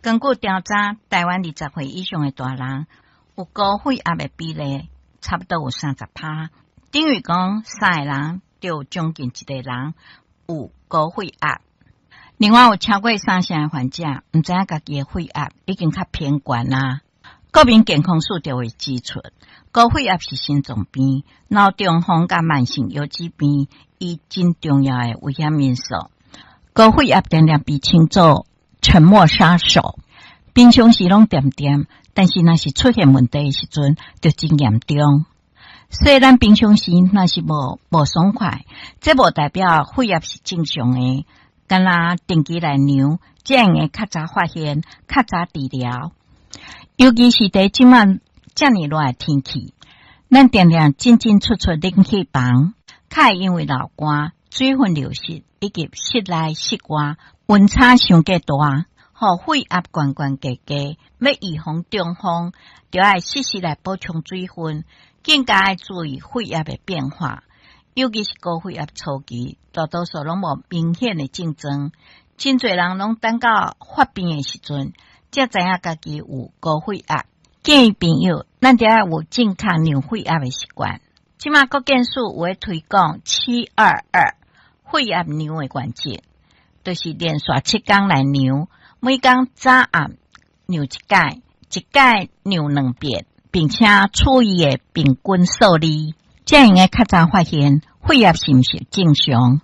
根據調查，台灣20歲以上的大人有高血壓的比例，差不多有30趴，等於講三個人就有將近一個人有高血壓。另外有超過三成的患者毋知影家己的血壓已經較偏懸啦。國民健康署就會指出，高血壓是心臟病、腦中風佮慢性腰子病，伊真重要的危險因素。高血壓常常被稱作沉默殺手，平常時攏恬恬，但是若是出現問題的時陣，就真嚴重。雖然平常時若是無爽快，這無代表血壓是正常的。敢若定期來量，才會較早發現、較早治療。尤其是佇這馬遮爾熱的天氣，咱定定進進出出冷氣房，較會因為流汗、水分流失以及室內室外溫差傷過大，予血壓懸懸低低。欲預防中風，就愛適時來補充水分，更加愛注意血壓的變化。尤其是高血壓初期，大多數攏無明顯的症狀，真濟人攏等到發病的時陣，才知影家己有高血壓。建議朋友，咱著愛有正確量血壓的習慣。這馬國健署有咧推廣7-2-2血壓量的原則，就是連續7工來量，每工早暗量一擺，一擺量兩遍，並且取伊的平均數字，才會用較早發現血壓是毋是正常。